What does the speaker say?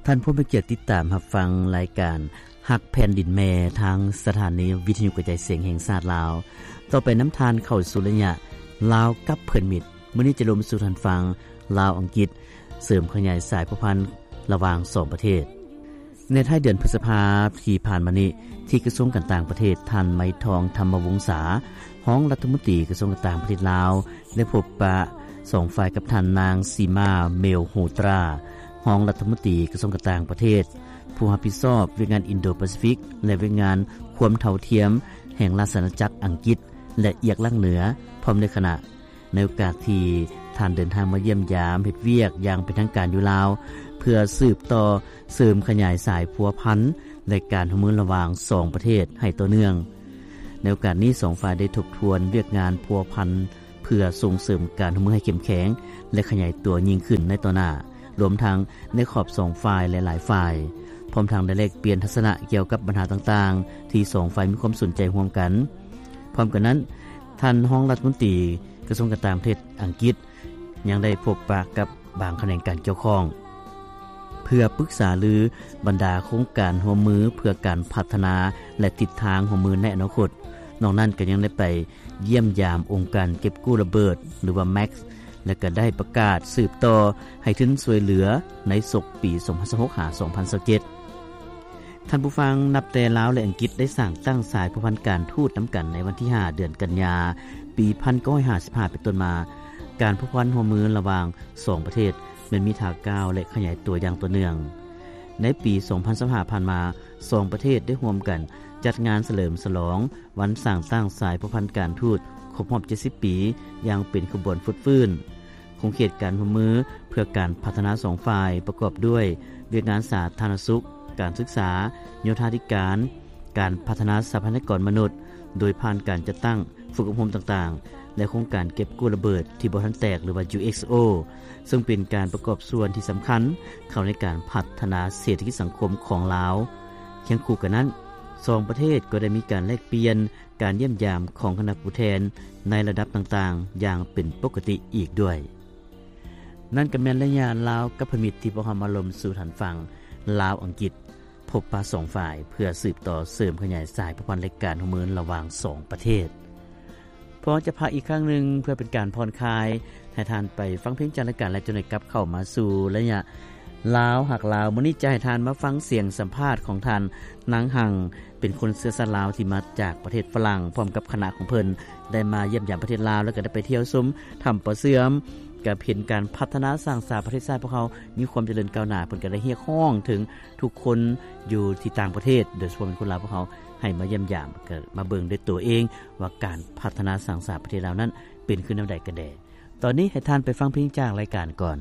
ທ່ານຜູ້ມີກຽດຕິດຕາມຮັບຟັງລາຍການຮັກແຜ່ນດິນແມ່ ທາງສະຖານີວິທະຍຸກະຈາຍສຽງແຫ່ງຊາດລາວ. ຕໍ່ໄປນຳທ່ານເຂົ້າສູ່ໄລຍະລາວກັບເພື່ອນມິດ. ມື້ນີ້ຈະລົມສູ່ທ່ານຟັງ ລາວ-ອັງກິດ ເສີມຂະຫຍາຍສາຍພົວພັນລະຫວ່າງສອງປະເທດ. ໃນທ້າຍເດືອນພຶດສະພາທີ່ຜ່ານມານີ້ ທີ່ກະຊວງການຕ່າງປະເທດ, ທ່ານ ໄມທອງ ທຳມະວົງສາ ຮອງລັດຖະມົນຕີກະຊວງການຕ່າງປະເທດລາວ ໄດ້ພົບປະສອງຝ່າຍກັບທ່ານນາງ ສີມາ ເມວໂຮຕຣາ ຮອງລັດຖະມົນຕີກະຊວງການຕ່າງປະເທດ ຜູ້ຮັບຜິດຊອບວຽກງານອິນໂດປາຊີຟິກ ແລະ ວຽກງານຄວາມເທົ່າທຽມແຫ່ງລາຊະອານາຈັກອັງກິດ ແລະ ອຽກລັງເໜືອ ພ້ອມດ້ວຍຄະນະ. ໃນໂອກາດທີ່ທ່ານເດີນທາງມາຢ້ຽມຢາມເຮັດວຽກຢ່າງເປັນທາງການຢູ່ລາວ ເພື່ອສືບຕໍ່ເສີມຂະຫຍາຍສາຍພົວພັນ ແລະ ການຮ່ວມມືລະຫວ່າງສອງປະເທດໃຫ້ຕໍ່ເນື່ອງ. ໃນໂອກາດນີ້ ສອງຝ່າຍໄດ້ທົບທວນວຽກງານພົວພັນ ເພື່ອສົ່ງເສີມການຮ່ວມມືໃຫ້ເຂັ້ມແຂງ ແລະ ຂະຫຍາຍຕົວຍິ່ງຂຶ້ນໃນຕໍ່ໜ້າ, ລວມທັງໃນຂອບສອງຝ່າຍ ແລະ ຫຼາຍຝ່າຍ, ພ້ອມທັງໄດ້ແລກປ່ຽນທັດສະນະກ່ຽວກັບບັນຫາຕ່າງໆ ທີ່ສອງຝ່າຍມີຄວາມສົນໃຈຮ່ວມກັນ. ພ້ອມກັນນັ້ນ, ທ່ານຮອງລັດຖະມົນຕີ ກະຊວງການຕ່າງປະເທດອັງກິດ ຍັງໄດ້ພົບປະກັບບາງຂະແໜງການກ່ຽວຂ້ອງ ເພື່ອປຶກສາລືບັນດາໂຄງການຮ່ວມມືເພື່ອການພັດທະນາ ແລະ ທິດທາງຮ່ວມມືໃນອະນາຄົດ. ນອກນັ້ນກໍຍັງໄດ້ໄປຢ້ຽມຢາມອົງການເກັບກູ້ລະເບີດ ຫຼືວ່າ ແມັກ ແລະ ກໍໄດ້ປະກາດສືບຕໍ່ໃຫ້ທຶນຊ່ວຍເຫຼືອໃນສົກປີສອງພັນຊາວຫົກ ຫາ ສອງພັນຊາວເຈັດ. ທ່ານຜູ້ຟັງ, ນັບແຕ່ລາວ ແລະ ອັງກິດໄດ້ສ້າງຕັ້ງສາຍພົວພັນການທູດນຳກັນໃນວັນທີຫ້າ ເດືອນກັນຍາ ປີໜຶ່ງພັນເກົ້າຮ້ອຍຫ້າສິບຫ້າ ເປັນຕົ້ນມາ, ການພົວພັນຮ່ວມມືລະຫວ່າງສອງປະເທດແມ່ນມີທ່າກ້າວ ແລະ ຂະຫຍາຍຕົວຢ່າງຕໍ່ເນື່ອງ. ໃນປີສອງພັນຊາວຫ້າຜ່ານມາ, ສອງປະເທດໄດ້ຮ່ວມກັນຈັດງານສະເຫຼີມສະຫຼອງວັນສ້າງຕັ້ງສາຍພົວພັນການທູດຄົບຮອບເຈັດສິບປີ ຢ່າງເປັນຂະບວນຟົດຟື້ນ. ຂົງເຂດການຮ່ວມມືເພື່ອການພັດທະນາສອງຝ່າຍ ປະກອບດ້ວຍວຽກງານສາທາລະນະສຸກ, ການສຶກສາ, ໂຍທາທິການ, ການພັດທະນາຊັບພະຍາກອນມະນຸດ ໂດຍຜ່ານການຈັດຕັ້ງຝຶກອົບຮົມຕ່າງໆ ແລະ ໂຄງການເກັບກູ້ລະເບີດທີ່ບໍ່ທັນແຕກ ຫຼືວ່າ ຢູເອັກໂອ ເຊິ່ງເປັນການປະກອບສ່ວນທີ່ສຳຄັນເຂົ້າໃນການພັດທະນາເສດຖະກິດສັງຄົມຂອງລາວ. ຄຽງຄູ່ກັນນັ້ນ, ສອງປະເທດກໍໄດ້ມີການແລກປ່ຽນ ການຢ້ຽມຢາມຂອງຄະນະຜູ້ແທນໃນລະດັບຕ່າງໆຢ່າງເປັນປົກກະຕິອີກດ້ວຍ. ນັ້ນກໍແມ່ນໄລຍະລາວກັບເພື່ອນມິດທີ່ພວກເຮົາມາລົມສູ່ທ່ານຟັງ ລາວ-ອັງກິດ ພົບປະສອງຝ່າຍ ເພື່ອສືບຕໍ່ເສີມຂະຫຍາຍສາຍພົວພັນ ແລະ ການຮ່ວມມືລະຫວ່າງສອງປະເທດ. ພວກເຮົາຈະພັກອີກຄັ້ງໜຶ່ງເພື່ອເປັນການຜ່ອນຄາຍ, ໃຫ້ທ່ານໄປຟັງເພງຈາກລາຍການ ແລ້ວຈັ່ງໄດ້ກັບເຂົ້າມາສູ່ໄລຍະລາວຮັກລາວ. ມື້ນີ້ຈະໃຫ້ທ່ານມາຟັງສຽງສຳພາດຂອງທ່ານ ນາງ ຮັງ ເປັນຄົນເຊື້ອຊາດລາວທີ່ມາຈາກປະເທດຝຣັ່ງ ພ້ອມກັບຄະນະຂອງເພິ່ນ ໄດ້ມາຢ້ຽມຢາມປະເທດລາວ ແລ້ວກໍໄດ້ໄປທ່ຽວຊົມຖ້ຳປ່າເຊື່ອມ, ກໍເຫັນການພັດທະນາສ້າງສາປະເທດຊາດພວກເຮົາມີຄວາມຈະເລີນກ້າວໜ້າ. ເພິ່ນກໍໄດ້ຮຽກຮ້ອງເຖິງທຸກຄົນຢູ່ທີ່ຕ່າງປະເທດ, ໂດຍສະເພາະເປັນຄົນລາວພວກເຮົາ ໃຫ້ມາຢ້ຽມຢາມ, ກໍມາເບິ່ງດ້ວຍຕົວເອງວ່າການພັດທະນາສ້າງສາປະເທດລາວນັ້ນເປັນຄືແນວໃດກັນແດ່. ຕອນນີ້ໃຫ້ທ່ານໄປຟັງເພງຈາກລາຍການກ່ອນ.